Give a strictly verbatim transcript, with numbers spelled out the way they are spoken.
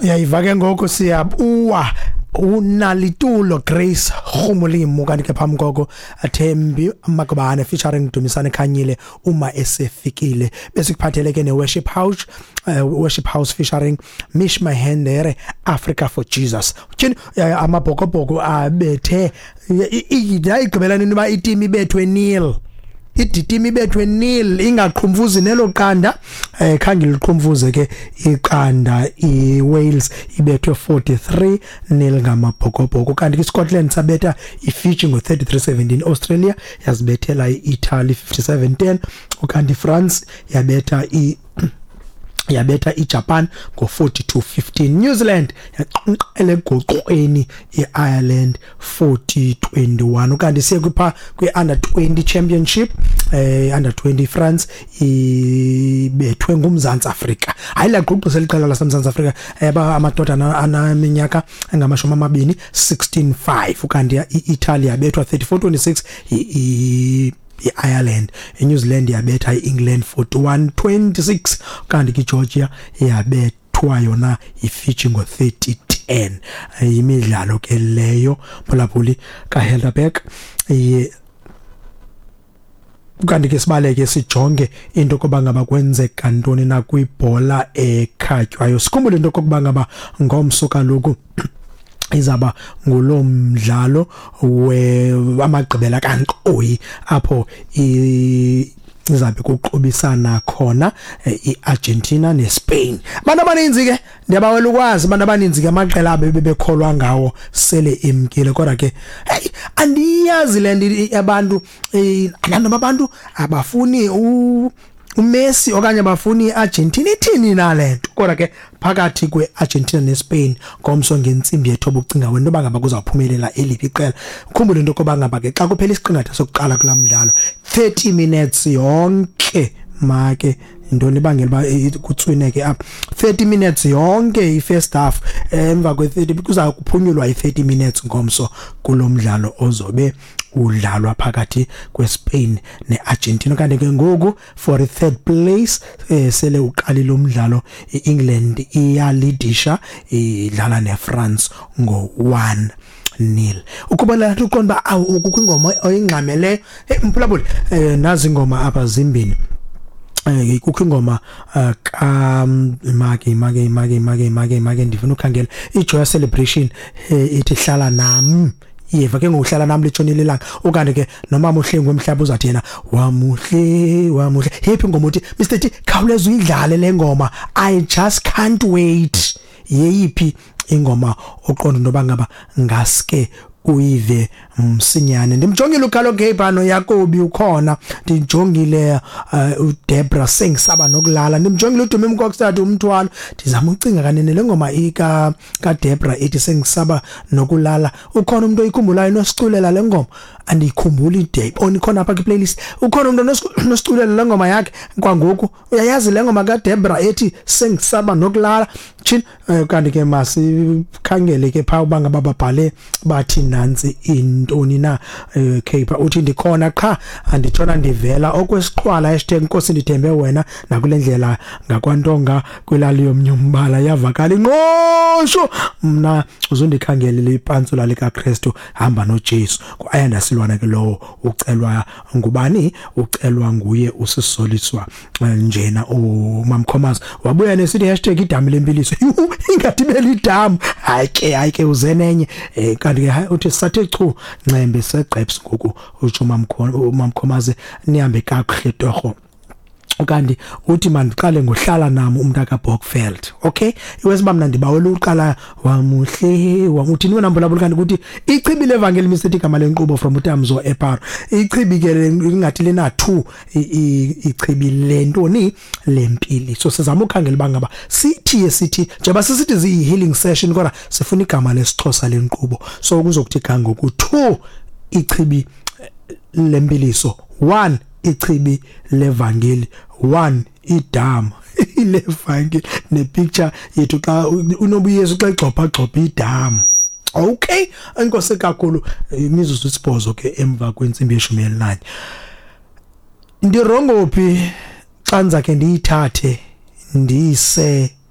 Uyayiva ke ngoku, siyabuwa uNalitulo Grace Rhumulimo, kanti ke phambi koko Thembi Makubane featuring Dumisani Khanyile, "Uma Esefikile". Besikuphathele ke ne-Worship House, uh, Worship House featuring Mish Mahendere, "Africa for Jesus". Tyhini, eh, Amabhokobhoko abethe, yayigqibela nini uba iteam ibethwe nil? Iteam ibethwe nil, ingaqhumfuzi nelo qanda. eh khange liqhumfuze ke iqanda. iWales ibethwe forty-three nil ngamabhokobhoko, kanti iScotland sabetha iFiji ngo thirty-three seventeen. Australia yazibethela iItaly fifty-seven ten, ukanti iFrance yabetha i yabetha iJapan ngo forty-two fifteen. New Zealand yaqenqele egoqweni iIreland forty twenty-one. Ukanti siye kwipha kwi-under twenty championship, eh under twenty, France ibethwe nguMzantsi Afrika. Hayi, laqhuqisa liqela laseMzantsi Afrika, eba amadoda anaminyaka engamashumi amabini, sixteen five. Ukanti iItaly yabethwa thirty-four twenty-six i iIreland. iNew Zealand yabetha iEngland forty-one twenty-six, kanti iGeorgia yabethwa yona iFiji ngo thirty ten. Imidlalo ke leyo, phulaphuli kaHelderberg. Kanti ke sibaleke sijonge into koba ngaba kwenzeka ntoni na kwibhola ekhatywayo. Sikhumbule into kokuba ngaba ngomso kaloku izaba ngulo mdlalo we amagqibela kankqoyi, apho izabe kuqubisana khona iArgentina neSpain. Abantu abaninzi ke, ndiyabawela ukwazi, abantu abaninzi ke amaqela abe bebekholwa ngawo sele emkile. Kodwa ke hey, andiyazi le nto abantu, noma abantu abafuni u uMessi okanye bafuni iArgentina, ithini na lento? Kodwa ke phakathi kweArgentina neSpain ngomso ngentsimbi yethoba, ucinga wena yoba ngaba kuzawuphumelela eliphi iqela? Ukhumbule into yokuba ngaba ke xa kuphela isiqingatha sokuqala kulaa mdlalo, thirty minutes yonke, make intoni ibangela uba kutswineke apha? thirty minutes yonke i-first half. Emva kwe-thirty kuza kuphunyulwa i-thirty minutes ngomso kulo mdlalo ozobe udlalwa phakathi kweSpain neArgentina. Kanti ke ngoku for the third place, eh, sele uqalile umdlalo, iEngland iyalidisha, idlala neFrance ngo one nil. Ukuba la uqonda uba awu, kukho ingoma oyingxameleyo. Hey mphulaphuli, eh, nazi ingoma apha zimbini. eh kukho ingoma ka make make make make make make ndifuna ukhangela iJoy Celebration ithi "Hlala Nami". Yeva ke ngokuhlala nami litshonile ilanga. Ukanti ke nomama uHlengu wemhlaba uzathi yena "Wamuhle, wamuhle". Happy ngoma uthi Mister T, khawuleza uyidlale le ngoma, I just can't wait. Yeyiphi ingoma oqonda noba ngaba ngaske uyive msinyane? Ndimjongile uKhalo Cape noYakobi ukhona, ndijongile uh, uDebra "Sengisaba Nokulala", ndimjongile uDumi Mkokstad "Umthwalo". Ndizama ucinga kanene le ngoma ika kaDebra ethi "Sengisaba Nokulala". Ukhona umuntu oyikhumbulayo nosiculela le ngoma? Andiyikhumbuli ide oni khona apha kwi playlist. Ukhona umuntu nosiculela le ngoma yakhe kwangoku? Uyayazi le ngoma kaDebra ethi "Sengisaba Nokulala"? Chin, kanti ke masikhangele ke pha uba ngaba babhale bathi nantsi intoni na. Cape uthi ndikhona qha anditshona ndivela okwesiqhwala, hashtag Nkosi ndithembe wena nakule ndlela ngakwantonga kwilali yomnyumbala yavakala ingqosho. Mna uzondikhangelela ipantsula likaKristu, hamba noJesu. Ayanda Silwana ke lowo ucelwa ngubani? Ucelwa nguye usisoliswa njena uMamkhomas. Wabuya nesithi hashtag idami lempiliso. Ingathi belidamu. Hayi ke, hayi ke, uzenenye. eh kanti ke uthi sathe chu ncembe segqeps ngoku, utsho uMamkhomaze. Nihambe kakuhle torho. Kanti uthi mandiqale ngohlala nami umntu kaBokfeld. Okay, iwesiba mna ndibawela uqala "Wamuhle". Uthini wena mbulabula? Kanti kuthi ichibi levangeli misithi igama lenkqubo from uTamzo eParo. Ichibi ke ingathi lena two, ichibi lentoni? Lempili. So sizama ukhangela bangaba sithi sithi njengoba sisithi ziyi healing session, kodwa sifuna igama lesiXhosa lenkqubo. So kuzokuthi ga ngoku two ichibi lempiliso, one ichibi levangeli, one idama levangeli, nepicture yethu xa unobuyesu xa igxopha gxopha idama. Okay, enkosi kakhulu. Imizuzu isibhozo ke emva kwentsimbi yeshumi elinanye. Ndirongo phi xa ndizakhe ndiyithathe ndiyise